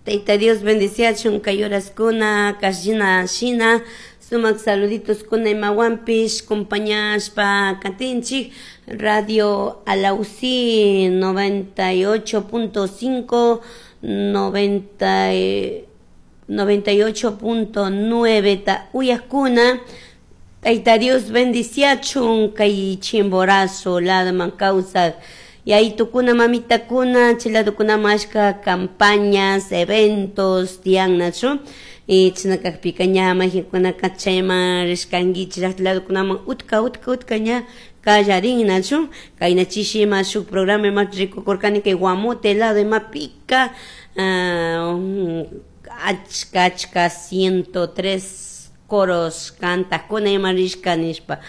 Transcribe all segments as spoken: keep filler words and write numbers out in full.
Tayta Dios bendiciachun kay horaskuna kashina shina sumak saluditos kuna imawanpish compañashpa katinchik Radio Alausi noventa y ocho punto cinco, noventa noventa y ocho punto nueve ta uyakuna. Tayta Dios bendiciachun kay Chimborazo ladman kawsak yaytukuna mamitakuna chiladukuna mashka campañas, eventos tiyannachu y chashna kakpika ña mayjinkunaka chayman rishkankichik llakta utka utka utka ña kallarinnachu kayna chishi ima shuk programa ima rikukurkani kay Guamote lado imapika achka achka ciento tres coros kantakuna ima rishka nishpa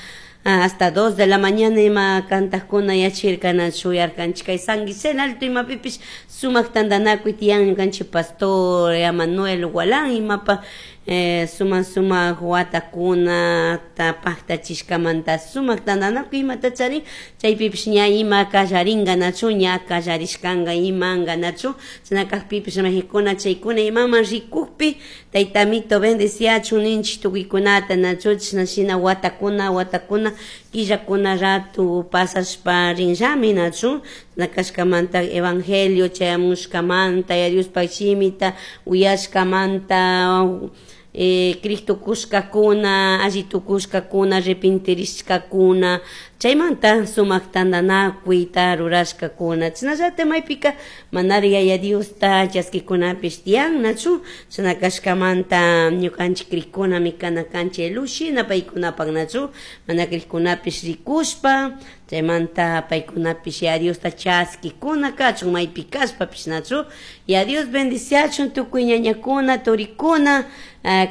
hasta dos de la mañana ima kantakuna yachirkanachu yarkanchik kay San Gisela Alto imapipish sumak tantanakuy tiyan ñukanchik pastor Manuel Gualán imapa eh, sumak sumak watakuna paktachishkamanta sumak tantanakuy imata charin chaypipish ña ima kallarinka ña kallarishkanka imanka nachu chashna kakpipish majikuna chaykuna imaman rikukpi taytamito bendiciachun ninchik tukuykunata nachu chashna shina watakuna watakuna killakuna ratu pasashpa rinllami nachu chashna kashkamanta evangelio chayamushkamanta ya Diospaq shimita uyashkamanta eh, Cristo kushkakuna alli tukushkakuna arrepentirishkakuna chaymanta sumak tantanakuyta rurashkakuna chashnallatak maypika manari Yaya Diosta chaskikunapish tiyan nachu chashna kashkamanta ñukanchik krikkunami kana kanchik luz shina paykunapak nachu mana krikkunapish rikushpa chaymanta paykunapish Yaya Diosta chaskikuna kachun maypi kashpapish nachu Yaya Dios bendiciachun tukuy ñañakuna turikuna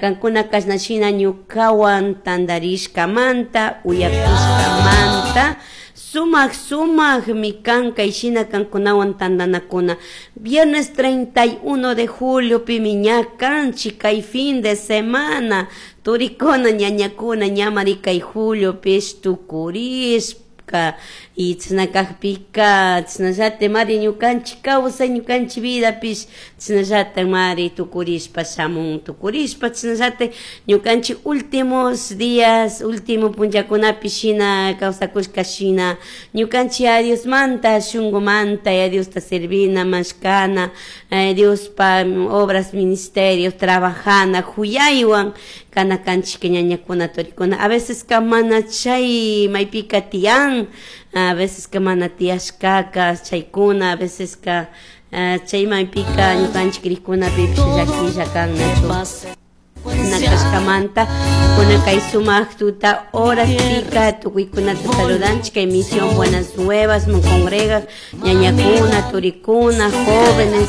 kankuna kashna shina ñukawan tantarishkamanta uyakushkamanta sumak sumakmi kan kay shina kankunawan tantanakuna viernes treinta y uno de julio pimi ña kanchik kay fin de semana turikuna ñañakuna ñamari kay julio pish tukurishpa y chashna kakpika chashnallatak mari ñukanchik kawsay ñukanchik vidapish chashnallatak mari tukurishpa shamun tukurishpa chashnallatak ñukanchik últimos días último punllakunapi shina kawsakushka shina ñukanchik a Diosmanta shunkumanta ya Diosta servina mashkana Diospa obras ministerios trabajana huyaywan kana kanchik ñañakuna turikuna a veces ka mana chay maypika tiyan a veces ka mana tiyashkaka chaykuna a veces ka chay maypika ñukanchik krikkunapipish llakilla kan nachu nakashkamanta kuna kay sumak tuta horaspika tukuykunata saludanchik kay misión Buenas Nuevas man congregan ñañakuna turikuna jóvenes.